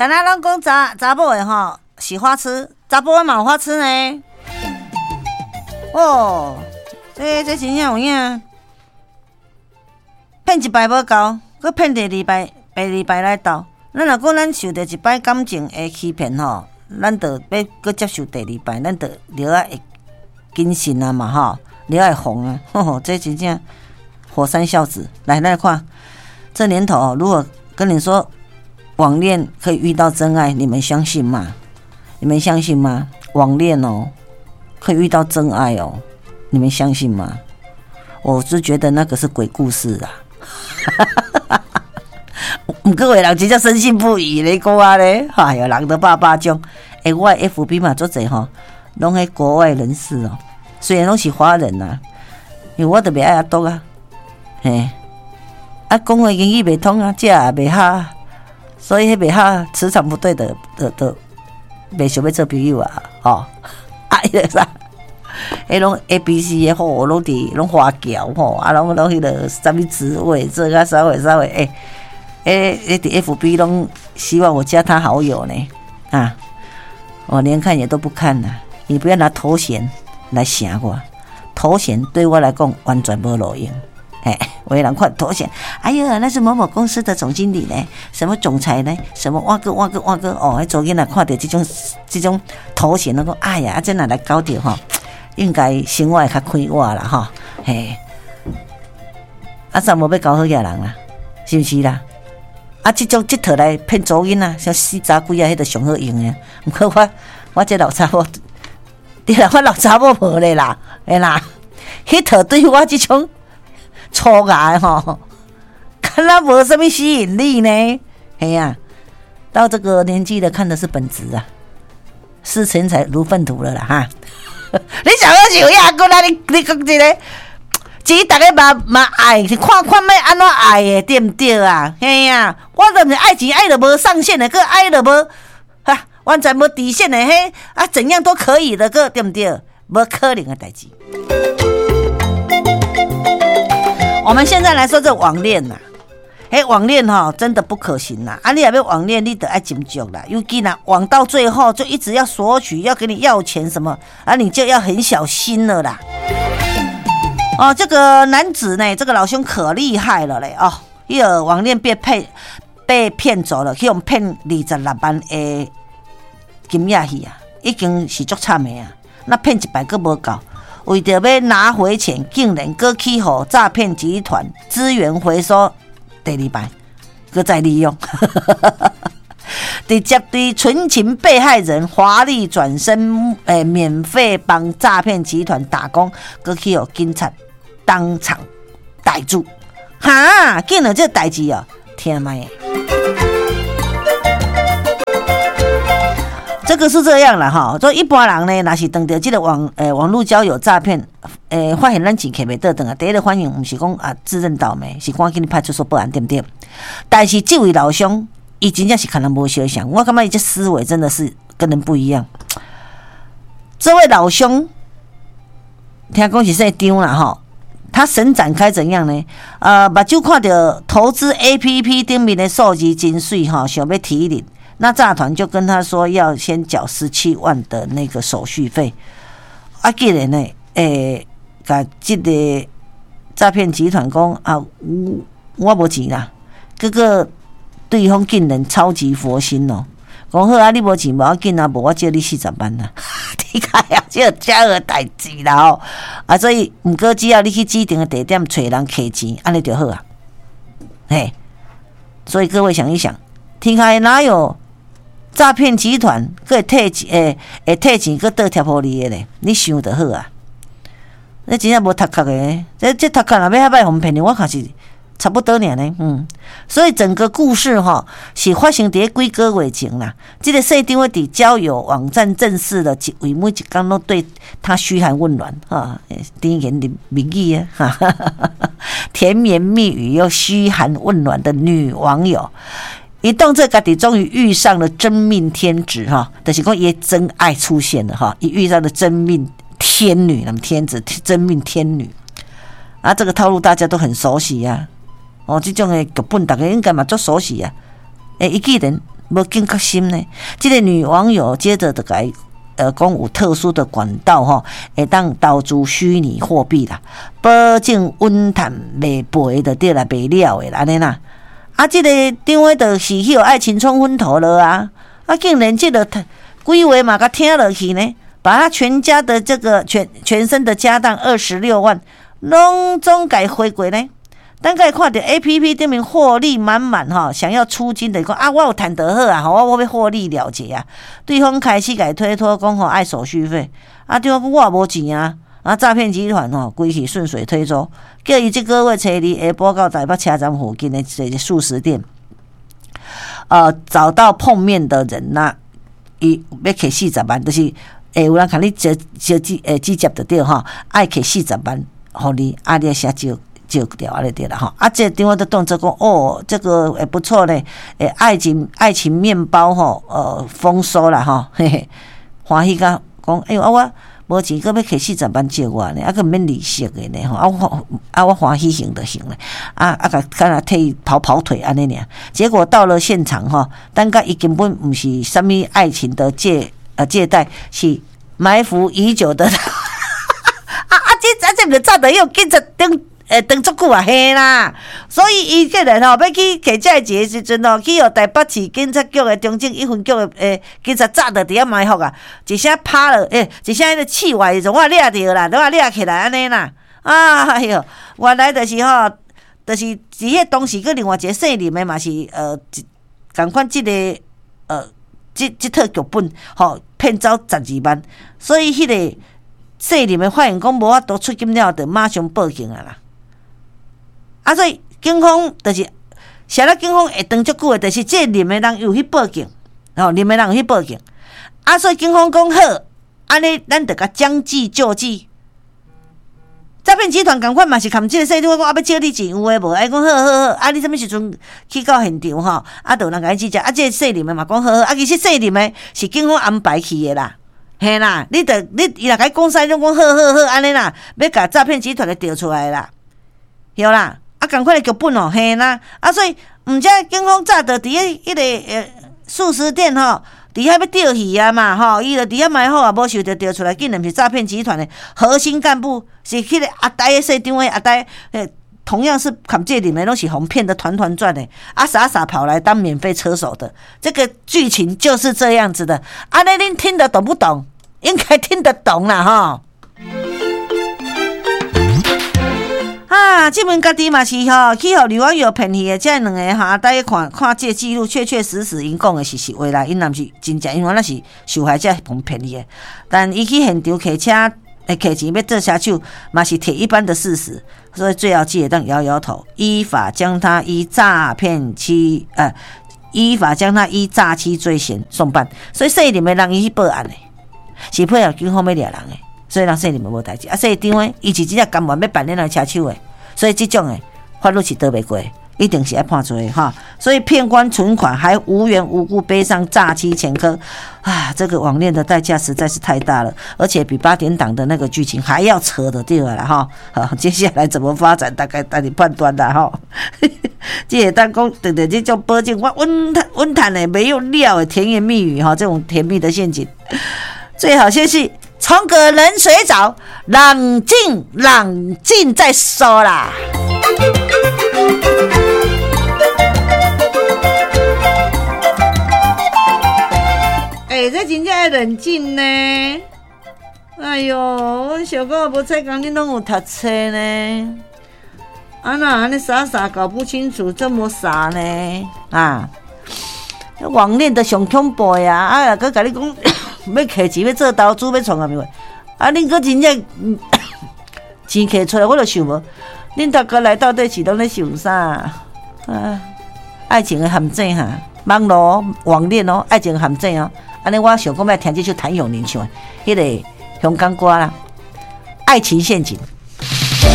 敢若攏講查查某的吼是花痴，查埔的嘛有花痴呢。哦，這真正有影，騙一擺無夠，閣騙第二擺、第二擺來鬥。咱若講咱受著一擺感情的欺騙吼，咱就欲閣接受第二擺，咱就著愛會謹慎啊嘛吼，著愛防啊。吼吼，這真正火山孝子。來，咱來看，這年頭如果跟你說網戀可以遇到真愛，你們相信嗎？你們相信嗎？網戀哦，可以遇到真愛哦，你們相信嗎？我是覺得那個是鬼故事啊。毋過有的人真正深信不疑咧，講啊咧，哎喲，人都百百種。欸，我的 FB 嘛足濟吼，攏彼國外人士哦，雖然攏是華人呐，因為我就袂愛阿篤啊，嘿，啊，講話英語袂通啊，食也袂合，所以彼袂合磁場不對的，的袂想欲做朋友啊，吼，啊，彼个啥，彼攏 ABC 的吼，攏佇攏華僑吼，啊，攏彼个啥物職位，做較稍微稍微欸。欸，欸，佇 FB 攏希望我加他好友呢，啊，我連看也都不看啦。你不要拿頭銜來嚇我，頭銜對我來講完全無路用。嘿，有的人看頭銜，哎呀，那是某某公司的總經理呢，什麼總裁呢，什麼碗糕碗糕碗糕哦，彼查某囡仔看著這種頭銜，攏講哎呀，啊這若來交著吼，應該生活會較快活啦吼，嘿，啊，煞無欲交好額人啦，是毋是啦？啊，這種這套來騙查某囡仔，像死查鬼仔，彼個上好用的。毋過我這老查某，對啦，我老查某無咧啦，會啦，彼套對我這種粗牙的吼，敢若無啥物吸引力呢？嘿啊，到這個年紀了，看的是本質啊，視錢財如糞土了啦哈！你想講是有影，閣來你講這個。錢逐个嘛嘛愛，是看看欲按怎愛的，對毋對啊？嘿啊，我就毋是愛錢愛著無上限的，閣愛著無哈，完全無底線的，彼啊怎樣都可以的，閣對毋對？無可能的代誌。我們現在來說這網戀啦，彼網戀吼真的不可行啦！啊，你若欲網戀，你著愛斟酌啦。尤其若網到最後就一直要索取，要給你要錢什麼，啊，你就要很小心了啦。哦，這個男子呢，這個老兄可厲害了嘞！哦，伊個網戀被騙走了，去予騙26萬的金額去啊，已經是足慘的啊！那騙一擺閣無夠，為著欲拿回錢，竟然閣去予詐騙集團資源回收第二擺，閣再利用，直接對純情被害人華麗轉身，欸，免費幫詐騙集團打工，閣去予警察當場逮住，哈！竟然這代誌哦，聽覓？這個是這樣啦吼，所以一般人呢，若是碰著這個網路交友詐騙，發現咱錢摕袂倒轉來，第一個反應毋是講啊自認倒霉，是趕緊去派出所報案，對毋對？但是這位老兄，伊真正是可能無相像，我感覺伊這思維真的是跟人不一樣。這位老兄，聽講是姓張啦吼，他神展開怎樣呢？目睭看著投資 APP 頂面的數字真媠吼，想欲提領，那詐團就跟他說要先繳17萬的那個手續費。啊，竟然呢，共這個詐騙集團講啊，我無錢啦，結果對方竟然超級佛心哦，講好啊，你無錢無要緊啊，無我借你40萬啦，你看啊，這遮個代誌啦吼，啊，所以毋過只要你去指定的地點揣人提錢，按呢就好啊，嘿，所以各位想一想，天下哪有詐騙集團閣會退錢，會退錢閣倒貼予你的咧？你想就好啊，你真正無頭殼的，這頭殼若欲遐歹予人騙，我看是差不多爾呢，所以整個故事吼是發生佇咧幾個月前啦。這個姓張的佇交友網站認識了一位，每一工攏對他噓寒問暖，哈，甜言蜜語啊，哈哈哈，甜言蜜語又噓寒問暖的女網友，伊當做家己終於遇上了真命天子哈，就是講伊真愛出現了哈，伊遇上了真命天女，那麼天子真命天女啊，這個套路大家都很熟悉呀。哦，這種的劇本大家應該嘛足熟悉啊。欸，伊竟然無警覺心呢。這个女網友接著就共伊講有特殊的管道吼，會當投資虛擬貨幣啦，保證穩賺袂賠就對啦，袂了的按呢啦。啊，這个電話就是去予愛情沖昏頭了啊！啊，竟然這个規話嘛共聽落去呢，把他全家的這個全身的家當26萬，攏總共花過呢。等共伊看著 APP 頂面獲利滿滿吼，想要出金的講啊，我有趁就好啊，吼，我欲獲利了結啊。對方開始共伊推脫講吼愛手續費，啊，對方講我也無錢啊，啊，詐騙集團吼規氣順水推舟，叫伊這個月初二下晡到台北車站附近的一個速食店，找到碰面的人呐，伊欲提四十萬，就是會有人共你接接接直接就對吼，愛提四十萬予你，啊，你寫借。借掉按呢對啦吼，啊，這電話就當作講哦，這個會不錯咧，欸，愛情麵包吼，豐收啦吼，嘿嘿，歡喜甲講，哎喲啊我無錢，閣欲提四十萬借我呢，啊閣毋免利息的呢吼，啊我啊我歡喜還就還咧，啊啊共敢若替伊跑跑腿按呢爾，結果到了現場吼，等甲伊根本毋是啥物愛情的借貸，是埋伏已久的，啊啊這啊這毋是早就予警察盯。會當足久啊，嘿啦！所以伊竟然吼欲去提這个錢的時陣吼，去予台北市警察局的中正一分局的警察早就佇遐埋伏啊！一聲拍落，一聲彼个刺蝟的時陣，我掠著啦，都我掠起來按呢啦！哎喲，原來就是吼，就是佇彼當時，閣另外一個姓林的嘛是仝款這个這套劇本吼，騙走12萬，所以彼个姓林的發現講無法度出金了，就馬上報警啊啦！啊，所以警方就是，啥咧？警方會當足久的，就是這個林的人有去報警，吼，林的人有去報警。啊，所以警方講好，按呢咱就共將計就計。詐騙集團仝款嘛是含這个細路講啊，欲借你錢有的無？伊講好好好，啊，你啥物時陣去到現場吼？啊，就有人共你指證。啊，這个姓林的嘛講好好，啊，其實姓林的是警方安排去的啦，嘿啦，你著你伊若共你講啥，攏講好好好按呢啦，欲共詐騙集團的調出來啦，對啦。啊，仝款的劇本哦，嘿啦，啊，所以毋才警方早就佇彼彼个速食店吼，佇遐欲釣魚啊嘛，吼，伊就佇遐埋伏啊，無想著釣出來，竟然是詐騙集團的核心幹部，是彼个阿呆的社長的阿呆，同樣是含這裡面攏是予騙得團團轉的，啊，傻傻跑來當免費車手的，這個劇情就是這樣子的。按呢恁聽得懂不懂？應該聽得懂啦，吼。啊，這門家己嘛是吼，去予女網友騙去的，這兩个哈，大家看看這記錄，確確實實𪜶講的是實話啦，𪜶若毋是真正，因為那是受害者予騙去的。但伊去現場提車，提錢欲做車手，嘛是鐵一般的事實，所以最後只會當搖搖頭，依法將他依詐欺罪嫌送辦。所以姓林的人伊去報案的，是配合警方欲掠人的。所以人姓林嘛無代誌，啊，姓張的伊是真正甘願欲扮演人車手的，所以這種的法律是逃袂過，一定是愛判罪的哈。所以騙官存款還無緣無故背上詐欺前科，啊，這個網戀的代價實在是太大了，而且比八點檔的那個劇情還要扯的對了哈。好，接下來怎麼發展，大概等你判斷啦哈。這會當講，對對，這種保證我穩賺穩賺的，沒有料的甜言蜜語哈，這種甜蜜的陷阱，最好先是。沖個冷水澡，冷靜冷靜再說啦。欸，這真正愛冷靜呢。哎喲，我想講無彩工，恁攏有讀冊呢。啊哪按呢傻傻搞不清楚，這麼傻呢？啊，網戀的上恐怖呀！啊，閣共你講。欲提錢，欲做投資，欲創啥物啊？恁閣真正錢提出來，我就想無，恁逐家來到底是攏咧想啥？啊，愛情的陷阱哈，網路網戀哦，愛情陷阱哦。按呢，我想講欲聽這首譚詠麟唱的彼个香港歌啦，《愛情陷阱》。